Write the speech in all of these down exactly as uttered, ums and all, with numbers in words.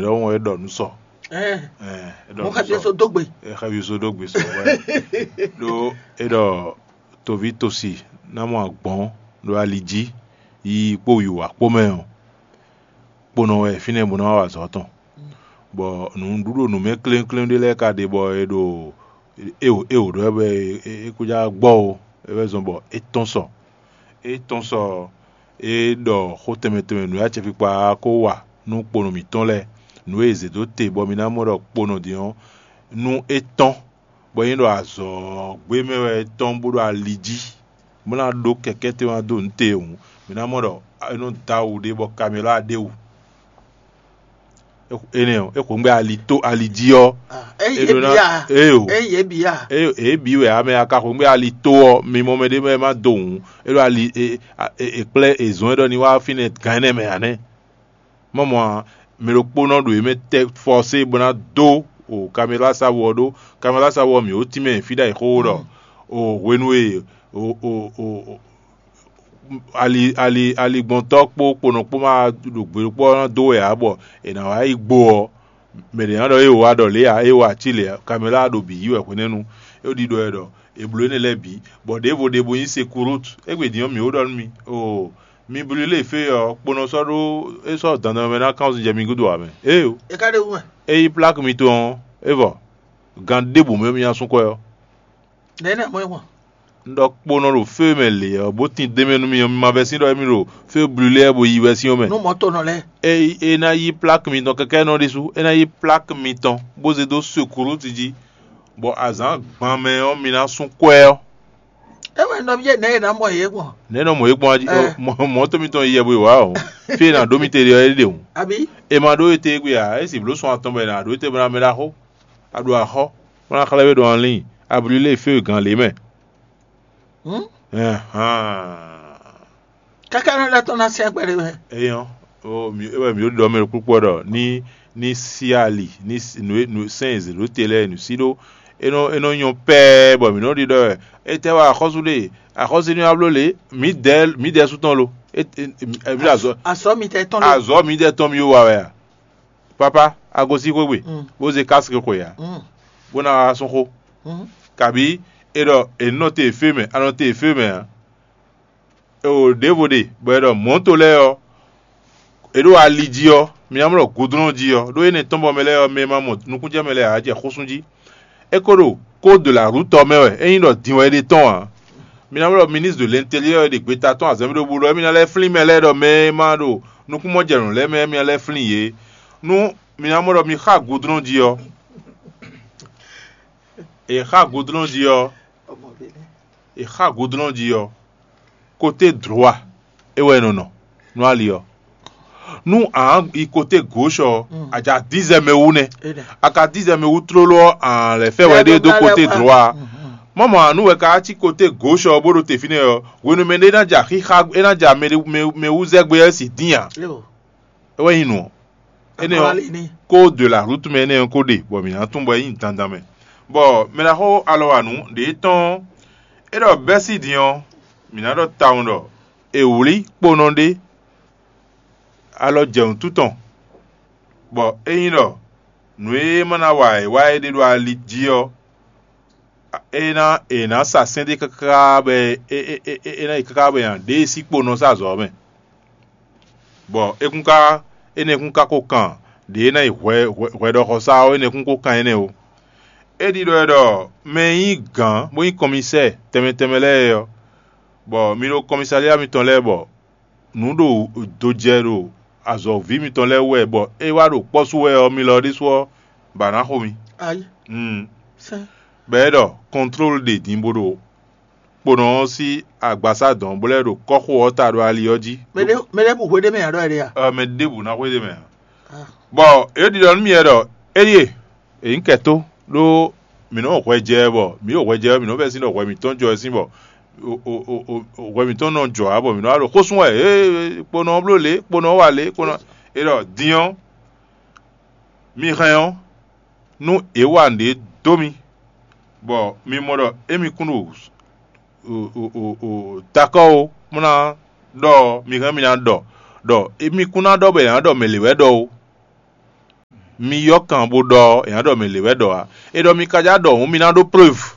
Ɖɔhun e ɖɔ nǔ sɔ. Ɛɛ, Ɛɛ, e ɖɔ mo nǔ xɛfia sɔ. So dó gbe. E xɛfia so dó gbe sɔ wɛ. Ɖó e ɖɔ toví tosi ná mɔ agbɔn ɖo ali jí yi kpó wiwa kpó mɛ ɔ́, kponɔ wɛ fínɛ́ bó ná wa azɔ̌ tɔn. Bɔ nǔɖuɖu nǔ mɛ klénklén ɖé lɛ́ɛ ka ɖe bɔ è ɖo eo eo ɖɔ wɛ bɔ é kó já gbɔ o, é wɛ zɔn bɔ é tɔ́n sɔ. É tɔ́n sɔ é ɖɔ xó tɛnmɛ tɛnmɛ nǔ e acɛkpikpa ko wa nú kponɔ mǐtɔn lɛ́ɛ, nǔ e è zě dó te bɔ mi ná mɔ ɖɔ kponɔ din ɔ́, nú é tɔ́n, bɔ é nyí ɖɔ azɔ̌ gbé mɛ wɛ é tɔ́n bó ɖo ali jí, bó ná ɖó kɛkɛ́ tɛnmɛ dó nǔ te hǔn, mi ná mɔ ɖɔ é nɔ dó awu ɖé bɔ kamɛlá ɖ'é wú. Énɛ́ ɔ́, é xweyǐgbe ali tó ali jí ɔ́, Ah, é é yě ɖó ná bia. Éyo. É yě bia. Éyo, é bǐ wɛ ame aka xweyǐgbe ali tó ɔ́, mi mɔ mɛ ɖé mɛ ma dó hǔn, é ɖo ali e e e kplɛ́ e zɔn é ɖɔ ní wá fínɛ́ gǎn énɛ́ mɛ ǎ nɛ́. Mɔ mɔ ǎ, mɛ ɖokpónɔ ɖo yě mɛ tɛ fɔsé bó ná dó o kaméla sáwu ɔ́ ɖó. Kaméla sáwu ɔ́ mǐ ó tínmɛ fí ɖ'ayǐ xóxó ɖɔ o hwenu e o o o o ali ali aligbɔntɔ́ kpó kponɔ kpó ma ɖo gbe ɖokpó ɔ́ ná dó wɛ ǎ, bɔ è nǎ wá yi gbo ɔ́, mɛ ɖě ná ɖɔ é wá ɖɔ lě ǎ, é wá cí lě ǎ, kamɛlá ɖo bǐ yí wɛ hwenɛ́nu. É ɖiɖɔ wɛ ɖɔ è blǒ énɛ́ lɛ́ɛ bǐ, bɔ ɖěvo ɖěvo nyí sekurút. Égbé din ɔ́, mǐ ó ɖɔ nú mi, oo, mi blú lě fé ɔ́, kponɔ sɔ́ ɖó é sɔ́ dandan mɛ ná kán zun jɛ mi gúdo ǎ mɛ. Éyo, É ka ɖe wú mɛ. É yí pláki mitɔn ɔ́, é vɔ. Gan ɖěbǔ mɛ mi ná sú kwɛ ɔ́. Nɛ̌ nɛ mɔ é gbɔn? Un ɖɔ kponɔ ɖo fé mɛ lě ɔ́, bó tín d'é mɛ nú mi ɔ́, mi ma vɛ́ sín ɖɔ émí ɖo fé blulé bo yi wɛ sín ɔ́ mɛ. Nú mɔ̌ tɔn nɔ lɛ́ɛ. É é ná yí pláki mitɔn kɛkɛ́nɔ ɖésú, é ná yí pláki mitɔn bó zé dó sekurúti jí, bɔ azǎn gban mɛ ɔ́, mi ná sú kwɛ ɔ́. É wɛ nɔ byɔ́ nɛ̌ è nǎ mɔ yě gbɔn? Nɛ̌ nɔ mɔ yě gbɔn jí? Ɛ. Mɔ mɔ̌ tó mitɔn yi yɛ bo yi wǎ ɔ́, fí e è nǎ ɖó mi te ɖe ɔ́, é ɖe hǔn. Àbí? È ma ɖó ete gbé ǎ, é sì blǒ sun atɔn bɔ è nǎ ɖó te bó ná mɛ ɖaxó. A ɖo axɔ́, bó ná xlɛ́ we ɖo anlín, a blí lé fé gǎn lě mɛ. Hǔn? Ɛhán. Káká nɔ lɛ́ tɔn ná sɛ́n kpɛɖé mɛ. Eyɔn, o mi é wɛ mǐ ɖo ɖɔ mɛ ɖokpókpó ɖɔ ní ní sí ali ní nǔ e nǔ sɛn e zě ɖó te lɛ́ɛ nǔ sí ɖó é nɔ é nɔ nyɔ pɛɛ bɔ mǐ nɔ ɖiɖɔ wɛ. Étɛ́ wá axɔ́sú ɖe? Axɔ́sú ní wá bló lě? Mǐdɛɛ mǐdɛɛ sú tɔn lo? É é é mǐ ɖo azɔ̌ Azɔ̌ mitɔn tɔn lé? Azɔ̌ mǐdɛɛ tɔn mǐ wa wɛ a? Papa, a gosín xwé gbe, Mm. bó zé kási xwe ǎ, Mm. bó ná wá sún xó. Mm. Kabǐ è ɖɔ è nɔ te fé mɛ, a nɔ te fé mɛ ǎ. E o ɖěvo ɖe, bɔ è ɖɔ mɔ̌to lɛ́ɛ ɔ́, è ɖo ali jí ɔ́, mi ná mlɔ gudlɔ́n jí ɔ́, ɖó énɛ́ tɔn bɔ mɛ lɛ́ɛ ɔ́, mɛ e ma mɔ nukúnjɛmɛ lɛ́ɛ ǎ jɛ xó sú jí. É ko ɖo kódo la rútɔ mɛ wɛ, é nyí ɖɔ din wɛ é ɖe tɔn ǎ. Mi ná mlɔ ministre de l'intérieur e ɖe gbeta tɔn azɔ̌ mɛ ɖo bu ɖɔ émí ná lɛ́ flín mɛ lɛ́ɛ ɖɔ mɛ e ma ɖo nukúnmɔjɛnǔ lɛ́ɛ mɛ émí ná lɛ́ flín yě. Nú mi ná mɔ ɖɔ mi xá gudlɔ́n jí ɔ́, è xá gudlɔ́n jí ɔ́, è xá gudlɔ́n jí ɔ́, côté droit é wɛ è nɔ nɔ nú ali ɔ́. Nú a yi côté gauche ɔ́, a ja dizɛ mɛ wú nɛ́. A ka dizɛ mɛ wú tlóló ɔ́, a lɛ̌ fɛ wɛ ɖé dó côté droit. Mɔmɔ anu wɛ ka cí côté gauche ɔ́ bó ɖo te fínɛ́ ɔ́, hwenu mɛ ɖé ná ja xixa é ná ja mɛ mɛ wú zɛ gbé ɔ́ si dín ǎ. É wɛ nyí nǔ ɔ́. Énɛ́ ɔ́, kó de la route mɛ énɛ́ ɔ́ kó ɖe, bɔ mǐ ná tunwun bɔ é nyí dandan mɛ. Bɔ mɛ ná xo alɔ wa nǔ ɖě tɔn é ɖɔ bɛ́ sí din ɔ́, mǐ ná ɖɔ tawun ɖɔ è wlí kponɔ ɖé alɔ jɛ wǔtu tɔn, bɔ ényí ɖɔ nǔ e ma ná wa è wá é ɖe ɖo ali jí ɔ́, é ná è nǎ sa sɛ́n ɖé káká bɔ é é é é é ná yi káká bɔ è nǎ ɖe e sí kponɔ sá azɔ̌ ɔ́ mɛ. Bɔ é kún ka énɛ́ kún ka ko kan ɖě e ná yi hwɛ hwɛ hwɛɖɔxɔsá ɔ́ énɛ́ kún ko kan énɛ́ ó. É ɖiɖɔ wɛ ɖɔ mɛ e nyí gǎn bó nyí kɔnmisɛ́ɛ tɛnmɛ tɛnmɛ lɛ́ɛ é ɔ́, bɔ mi ɖo kɔnmisalia mitɔn lɛ́ɛ bɔ nǔ ɖo dojɛ ɖo azɔ̌ví mitɔn lɛ́ɛ wú wɛ bɔ é wá ɖo kpɔ́ sú wɛ ɔ́, mi lɔ ɖésú ɔ́, bǎ ná xo mi. Ayí. Mm. Sɛ́n. Bɔ é ɖɔ kɔntlólu ɖe din bó ɖo kponɔ ɔ́ sín agbasá dɔn bó lɛ́ ɖo kɔ́xo ɔ́ ta ɖo ali ɔ́ jí. Mɛ ɖé mɛ ɖé bu hwe ɖé mɛ ǎ ɖɔ ɛ ɖe a? Ɔ, mɛ ɖěbǔ ná xwedó mɛ ǎ. Ah. Bɔ é ɖiɖɔ nú mì wɛ ɖɔ éɖíe, è nyǐ kɛ tó ɖó mǐ nɔ́ hwɛ jɛ bɔ mǐ ɖo hwɛ jɛ mǐ nɔ́ vɛ́ sín ɖɔ hwɛ mǐtɔn jɔ wɛ sín bɔ o- o- o- o- hwɛ mǐtɔn nɔ jɔ ǎ bɔ mǐ nɔ́ wá ɖo xó sún wɛ ee kponɔ ɔ́ bló lě kponɔ ɔ́ wa lě kponɔ é ɖɔ din ɔ́ mi hɛn ɔ́ nú è wa nǔɖé dó mi, bɔ mi mɔ ɖɔ émi kún ɖo dakɔ́ ó, bó ná ɖɔ ɔ́, mi hɛn mi ná ɖɔ ɖɔ émi kún ná ɖɔ bɔ è nǎ ɖɔ mɛ lě wɛ ɖɔ ó. Mi yɔ́ kan bó ɖɔ ɔ́, è nǎ ɖɔ mɛ lě wɛ ɖɔ ǎ. É ɖɔ mi ka já ɖɔ hǔn, mi ná ɖó preuve.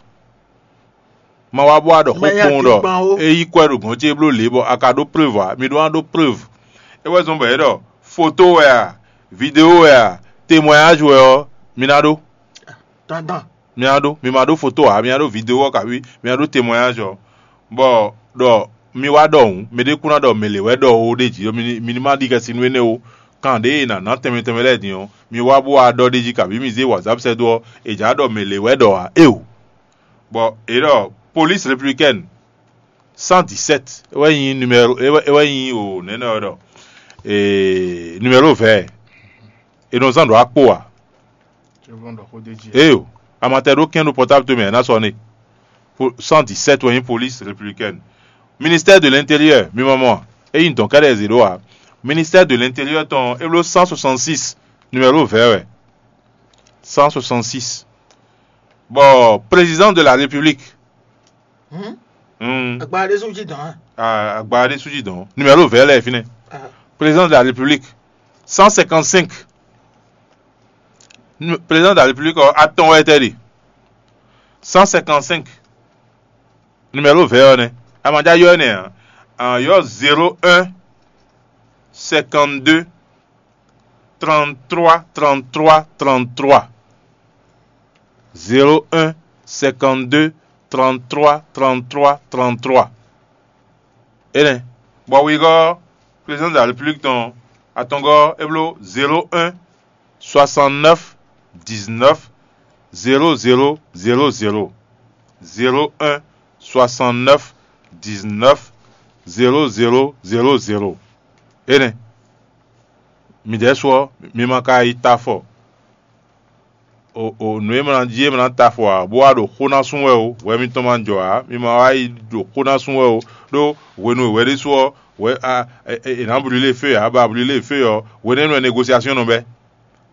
Ma wá bó wá ɖɔ xó kpowun ɖɔ é yí kwɛ́ ɖo gɔ̌n ce bló lě bɔ a ka ɖó preuve ǎ, mi ɖó ná ɖó preuve. É wɛ zɔ́n bɔ é ɖɔ foto wɛ a, video wɛ a, témoignage wɛ ɔ́, mi ná ɖó. Mi ná ɖó, mi ma ɖó foto ǎ, mi ná ɖó video ɔ́ kabí mi ná ɖó témoignage ɔ́. Bɔ ɖɔ mi wá ɖɔ hǔn, mɛ ɖé kún ná ɖɔ mɛ lě wɛ ɖɔ ó ɖ'é jí, mi ní ma ɖi xɛsi nú énɛ́ ó. Kan ɖě e è nǎ ná tɛnmɛ tɛnmɛ lɛ́ɛ din ɔ́, mi wá bó wá ɖɔ ɖ'é jí kabí mi zé whatsapp sɛ́ dó ɔ́, è jǎ ɖɔ mɛ lě wɛ ɖɔ ǎ, éeǒ. Bɔ è ɖɔ police républicaine cent dix-sept é wɛ nyí numéro é wɛ é wɛ nyí o nɛnɛ ɔ́ ɖɔ ee numéro vɛ è nɔ zán ɖo akpo ǎ. Eyo, amatɛ ɖó kɛn ɖo portable towe mɛ ná sɔ ne. Cent dix-sept wɛ nyí police républicaine. Ministère de l'intérieur mi mɔ mɔ é nyí dɔn kɛɖɛ zé ɖó ǎ. Ministère de l'intérieur tɔn é bló cent soixante-six numéro vɛ wɛ. Cent soixante-six. Bɔ président de la république. Hmm. Agba ɖé sú jí dɔn á. Ah, agba ɖé sú jí dɔn numéro vɛ lɛ fínɛ. Président de la république. Cent cinquante-cinq. Président de la république ɔ atɔn wɛ tɛ ɖe. Cent cinquante-cinq. Numéro vɛ ɔ́ nɛ́. Amadja yɔ nɛ a yɔ zéro un cinquante-deux trente-trois trente-trois trente-trois. Zéro un cinquante-deux trente-trois trente-trois trente-trois. Énɛ́. Bɔ wegɔ́ président de la république tɔn atɔngɔ́ é bló zéro un soixante-neuf dix-neuf zéro zéro zéro zéro. Zéro un soixante-neuf dix-neuf zéro zéro zéro zéro. Énɛ́. Midɛɛ su ɔ́, mi ma ka yi ta afɔ. O o nǔ e ma ná jí e ma ná ta afɔ ǎ, bó wá ɖo xó ná sú wɛ o, hwɛ mitɔn ma jɔ ǎ, mi ma wá yi ɖo xó ná sú wɛ o. Ɖó hwenu e hwɛ ɖésú ɔ́, hwɛ a è nǎ blílé fé ǎ, bɔ a blílé fé ɔ́, hwenɛ́nu wɛ negosiasyɔn nɔ bɛ́.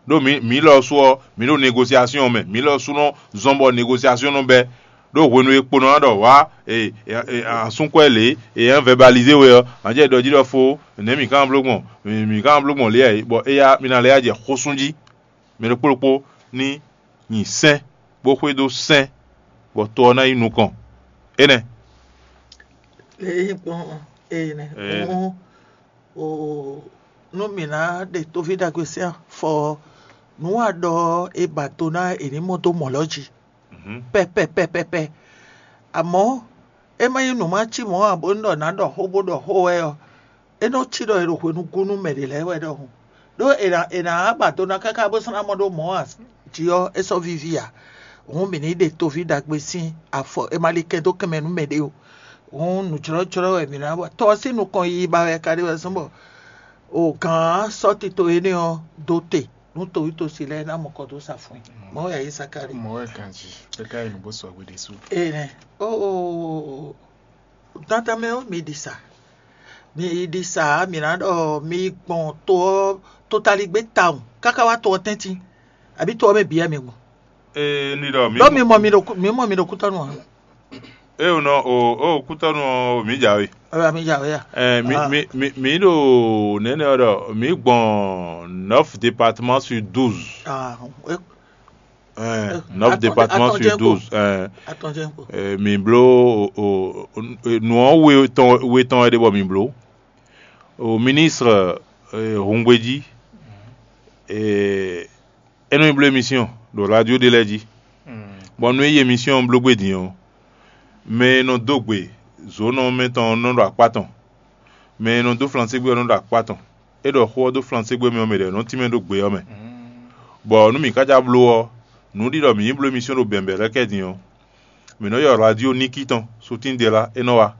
Ɖó mǐ mǐ lɔ sú ɔ́, mǐ ɖo negosiasyɔn mɛ, mǐ lɔ sú nɔ zɔ́n bɔ negosiasyɔn nɔ bɛ́. Ɖó hwenu e kponɔ ná ɖɔ wǎ asúnkwɛ́ lě e é vɛbalizé we ɔ́, nǎ jɛ ɖɔ jí ɖɔ fó, nɛ̌ mǐ ka ná bló gbɔn? Mǐ ka ná bló gbɔn lě ǎ é, bɔ éyá mi ná lɛ́ yá jɛ xó sú jí. Mɛ ɖokpó ɖokpó ní nyi sɛ́n, bó xwedó sɛ́n, bɔ to ɔ́ ná yi nukɔn. Énɛ́. Ényí gbɔn ene hǔn o, nú mǐ ná ɖe tóví ɖagbe sín afɔ ɔ́, nǔ wa ɖɔ ɔ́, è ba do ná è ní mɔ dó mɔ̌ lɔ́ jí. Pɛpɛpɛpɛpɛ. Amɔ̌, é ma nyí nǔ ma cí mɔ̌ ǎ bónú ɖɔ nǎ ɖɔ xó bó ɖɔ xó wɛ ɔ́, é nɔ cí ɖɔ è ɖo hwenu gún nú mɛ ɖě lɛ́ɛ wɛ ɖɔhun. Ɖó è nǎ è nǎ ba do ná káká bó sɔ́ ná mɔ ɖó mɔ̌ ǎ jí ɔ́, é sɔ́ víví ǎ. Hǔn mǐ ní ɖe tóví ɖagbe sín afɔ è ma li kɛn dó kɛnmɛ nú mɛɖé o. Hǔn nǔjlɔ́jlɔ́ wɛ mǐ ná wa. Tɔ ɔ́ sín nukɔn yiyi ba wɛ ka ɖe wɛ zɔ́n bɔ o gǎn sɔ́ tito énɛ́ ɔ́ dó te nú towítɔ́si lɛ́ɛ ná mɔ kɔ dó sa fún i. Mɔ̌ wɛ yě sa ka ɖe. Mɔ̌ wɛ ganjí, é ka yi nǔ bó sɔgbe ɖésú. Ee nɛ. Oo, dandan mɛ ɔ́, mi ɖi sa. Mi yi ɖi sa, mi ná ɖɔ mi yi gbɔn to ɔ́ totaligbé tawun káká wá to ɔ́ tɛ́ntin, abǐ to ɔ́ mɛ bǐ wɛ mi gbɔn. Ee, ní ɖɔ mǐ Ɖɔ mi mɔ mi ɖo kú- mi mɔ mi ɖo kútɔ́nu ɔ́. Ée wǒ nɔ o o kútɔ́nu ɔ́, mǐ jǎwe. Ɔ́, mi jǎwe a? Ɛ, mi, Ah. Mi, mi, mi ɖo nɛnɛ ɔ́ ɖɔ mǐ gbɔn neuf départements sur douze. Ah, é- Ɛ, neuf départements sur douze. Ɛ, Atɔnjɛn kpo. Ɛ, mi bló o, o, o, nǔ ɔ́ we tɔn we tɔn wɛ ɖe bɔ mi bló. O ministre e, Hungbeji e, é nɔ yi bló émission ɖo radio ɖé lɛ́ɛ jí. Bɔ nú é yi émission ɔ́ bló gbé din ɔ́, mɛ e nɔ dó gbe zǒnɔ mɛ tɔn ɔ́ nɔ ɖo akpá tɔn. Mɛ e nɔ dó flansé gbé ɔ́ nɔ ɖo akpá tɔn. É ɖɔ xó ɔ́ dó flansé gbé mɛ ɔ́ mɛ ɖě nɔ tínmɛ ɖó gbe ɔ́ mɛ. Bɔ nú mǐ ka já bló ɔ́, nǔ ɖi ɖɔ mǐ yi bló émission ɖo bɛ̌nbɛ̌ lɛ́ɛ kɛ din ɔ́, mǐ nɔ ylɔ́ radio Niki tɔn, Sutín Delá, é nɔ wá.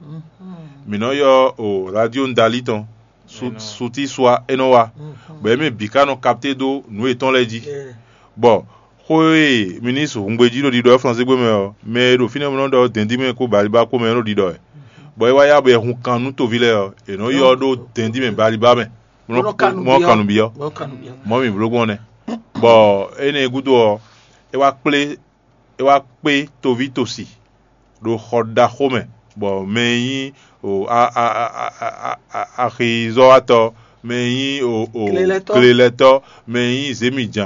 Mǐ nɔ ylɔ́ o radio Ndalí tɔn, Sutín Suá, é nɔ wá. Bɔ é mɛ bǐ ka nɔ kapté dó nǔ yětɔn lɛ́ɛ jí. Bɔ xó e minísitri Hungbejí ɖo ɖiɖɔ wɛ Flansé gbé mɛ ɔ́, mɛ e ɖo fínɛ́ bó nɔ ɖɔ dɛ̌ndín mɛ kpó Baliba kpó mɛ ɔ́ nɔ ɖiɖɔ wɛ. Bɔ é wá yá bɔ è hun kan nú toví lɛ́ɛ ɔ́, è nɔ ylɔ́ ɖó dɛ̌ndín mɛ Baliba mɛ. Mɔ kan nǔ byɔ́. Mɔ mǐ bló gbɔn nɛ́. Bɔ énɛ́ gúdo ɔ́, é wá kplé é wá kpé toví tosi ɖo xɔ ɖaxó mɛ, bɔ mɛ e nyí axizɔ́watɔ́, mɛ e nyí klelɛtɔ́, mɛ e nyí zěmijǎn,